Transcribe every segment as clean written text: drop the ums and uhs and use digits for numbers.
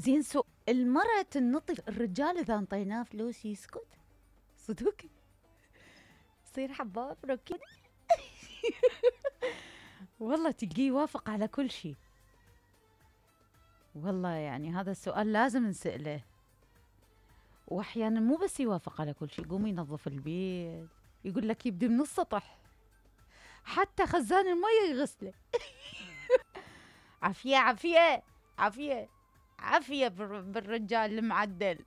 زين المرأة تنطي، الرجال إذا انطيناه فلوس يسكت صدق، يصير حباب ركض. والله تلقيه يوافق على كل شيء. والله يعني هذا السؤال لازم نسأله. واحيانا مو بس يوافق على كل شيء، يقوم ينظف البيت، يقول لك يبدي من السطح، حتى خزان المية يغسله. عافية عافية عافية عافية بالرجال المعدل.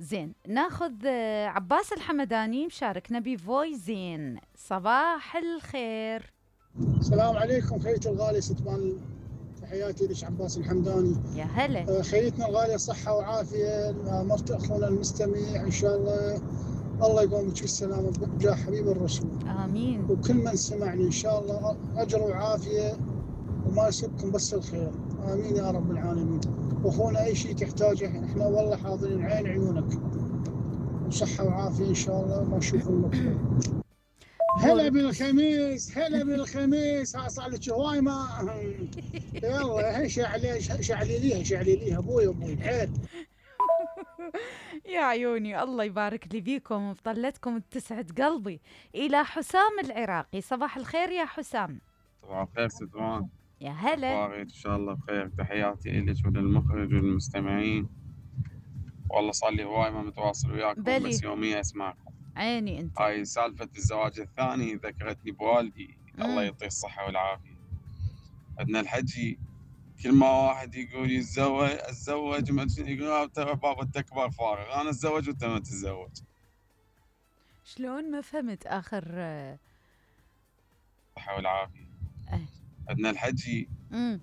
زين ناخذ عباس الحمداني مشاركنا بفويس. زين صباح الخير. السلام عليكم خيتي الغالي ستبان، تحياتي لك عباس الحمداني. يا هلا. خيتنا الغالية صحة وعافية، مرت أخونا المستمع إن شاء الله الله يقومك بالسلامة بجاه حبيب الرسول. آمين. وكل من سمعني إن شاء الله أجر وعافية وما يصيبكم بس الخير، آمين يا رب العالمين. وأخونا أي شيء تحتاجه إحنا والله حاضرين عين عيونك، وصحة وعافية إن شاء الله ما نشوف المكتوب. هلا بالخميس، هلا بالخميس، ها صار لك هواي ما يلا شعلي ليها ابوي عيل. يا عيوني الله يبارك لي بيكم وبطلتكم تسعد قلبي. إلى حسام العراقي. صباح الخير يا حسام. صباح الخير ستوان. يا هلا. أخبارك؟ إن شاء الله بخير. تحياتي إلك وللمخرج والمستمعين. والله صار لي هواي ما متواصل وياكم، بس يوميا أسمعكم. عيني أنت. هاي سالفة الزواج الثاني ذكرتني بوالدي، الله يعطيه الصحة والعافية. عندنا الحجي كل ما واحد يقول اتزوج يقول ترى بابا التكبر فارغ، أنا أتزوج وأنت ما تتزوج. شلون ما فهمت آخر. الصحة والعافية. عندنا الحجي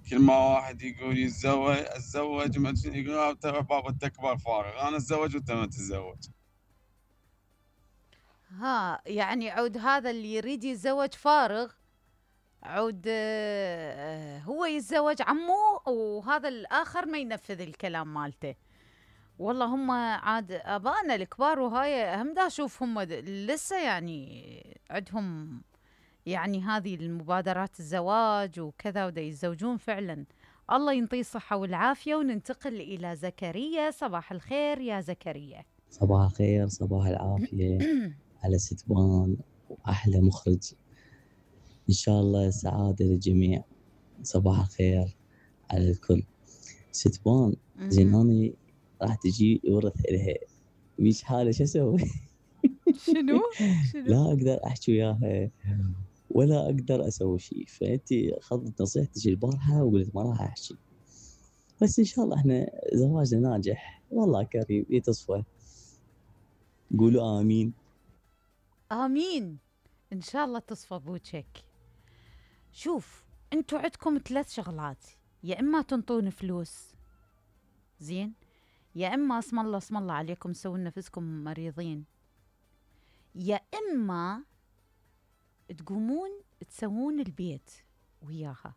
كل ما واحد يقول اتزوج يقول ترى بابا التكبر فارغ، أنا أتزوج وأنت ما تتزوج. ها يعني عود هذا اللي يريد يتزوج فارغ، عود هو يتزوج عمه، وهذا الآخر ما ينفذ الكلام مالته. والله هم عاد آبائنا الكبار وهاي هم دا أشوف هم لسه يعني عندهم يعني هذه المبادرات الزواج وكذا، ودا يتزوجون فعلا. الله ينطيه الصحة والعافية. وننتقل إلى زكريا. صباح الخير يا زكريا. صباح الخير، صباح العافية على ستبان وأحلى مخرج، إن شاء الله سعادة للجميع. صباح الخير على الكل. ستبان زين أنا راح تجي ورث إلها مش حالة، شو أسوي؟ شنو؟ لا أقدر أحكي وياها ولا أقدر أسوي شيء، فأنتي خذت نصيحتك البارحة وقلت ما راح أحكي، بس إن شاء الله إحنا زواجنا ناجح والله كريم يتصفى. قولوا آمين. آمين إن شاء الله تصفى بوجهك. شوف أنتوا عندكم 3 شغلات، يا إما تنطون فلوس زين، يا إما اسم الله اسم الله عليكم سووا نفسكم مريضين، يا إما تقومون تسوون البيت وياها.